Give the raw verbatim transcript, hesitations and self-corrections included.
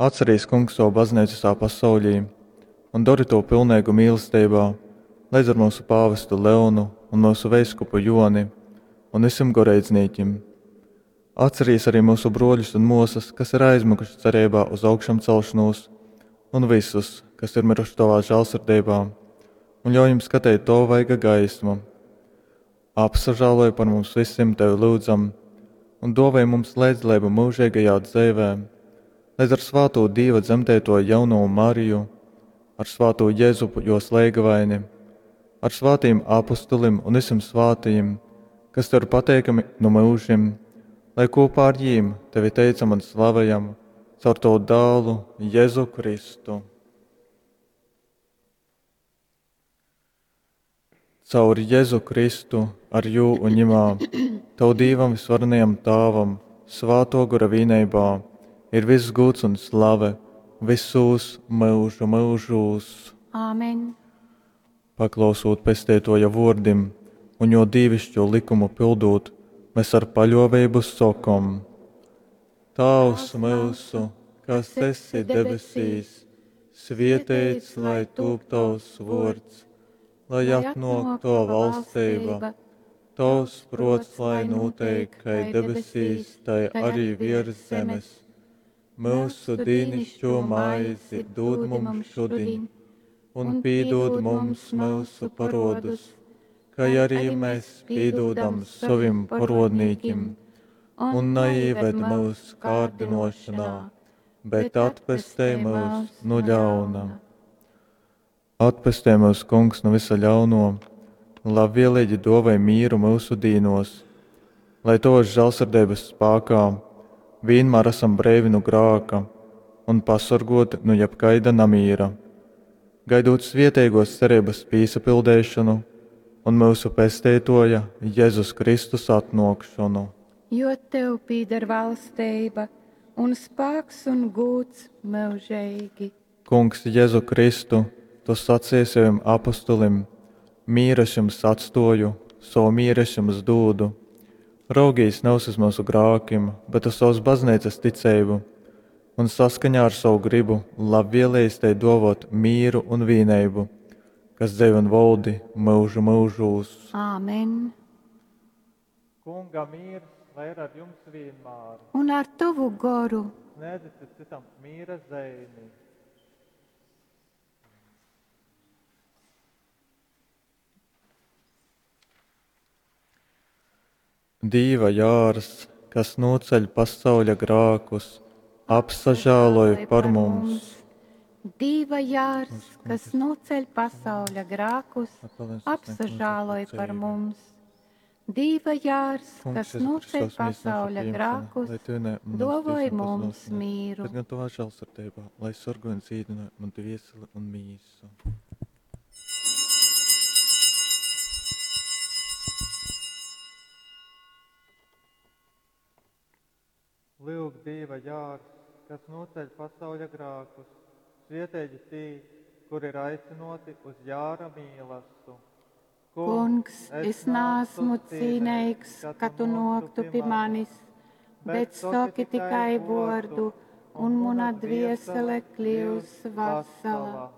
Atcerīs, Kungs, savu baznīcu visā pasaulī un dori to pilnīgu mīlestībā, leidz ar mūsu pāvestu Leonu un mūsu veiskupu Joni un visiem goreidznīkim. Atcerīs arī mūsu broļus un mosas, kas ir aizmiguši cerībā uz augšamcelšanos, un visus, kas ir miruši tavā žēlsirdībā, un ļauj jums skatīt tavu vaiga gaismu. Apsažāloj par mums visiem, tevi lūdzam, un dāvāj mums līdzdalību mūžīgajā dzīvē, līdz ar svāto Dieva dzemdēto jauno Mariju, ar svāto Jēzupu jos leigavaini, ar svātiem apustulim un visiem svātajiem, kas tev ir pateikami no mūžiem, lai kopā ar jīm tevi teicam un slavējam caur tavu dēlu Jēzu Kristu. Caur Jēzu Kristu, ar jū un ņemā, tavu Dīvam visvarenajam Tāvam, svāto gora vīneibā, ir viss gūts un slave visos mūžu mūžūs. Āmen. Paklausot pestētoja vordim un jo dīvišķo likumu pildot, mēs ar paļovību sokom. Tēvs mūsu, kas esi debesīs, svietēts, lai tūp tavs vords, lai atnāk tava valstība, tavs prots, lai notiek, kai debesīs, tai arī virs zemes. Mūsu dīnišķo maizi dod mums šodien, un pīdod mums mūsu parodus, kai arī mēs pīdodam savim parodnīkim, un neieved mūsu kārdinošanā, bet atpestē mūs no ļauna. Atpestē mūs, Kungs, no visa ļauno, un labvēlīgi dāvāj mīru mūsu dīnos, lai tavas žēlsirdības spēkā vienmēr esam brīvi no grāka un pasargoti no jebkaida namīra, gaidot svietēgos cerības pīsapildēšanu un mūsu pestētoja Jēzus Kristus atnākšanu. Jo tev pīder valstība un spēks un gūts mūžīgi. Kungs Jēzu Kristu, tu sacīji saviem apustulim, mīru es jums atstoju, savu mīru es jums dūdu. Raugīs nevis uz mūsu grākim, bet uz savas baznīcas ticību, un saskaņā ar savu gribu labvēlējis te dovot mīru un vīneibu, kas dzēv un valdi mūžu mūžūs. Āmen. Kunga mīrs, lai ir ar jums vienmēr. Un ar tavu goru. Sniedziet citam mīra zeimi. Dīva jārs, kas noceļ pasauļa grākus, apsažāloj par mums. Dīva jārs, kas noceļ pasauļa grākus, apsažāloj par mums. Dīva jārs, kas noceļ pasauļa grākus, dovoj mums mīru. Bet gan tavā žēlsirdībā, lai sargāj un dzīdina man dvieseli un mīsu. Lūk, Dieva jārs, kas noceļ pasauļa grākus, svietēji tī, kur ir aicinoti uz jāra mīlastu. Kungs, es nāsmu cīnīgs, ka tu noktu pie manis, bet saki tikai vordu, un mana dviesele kļūs vesela.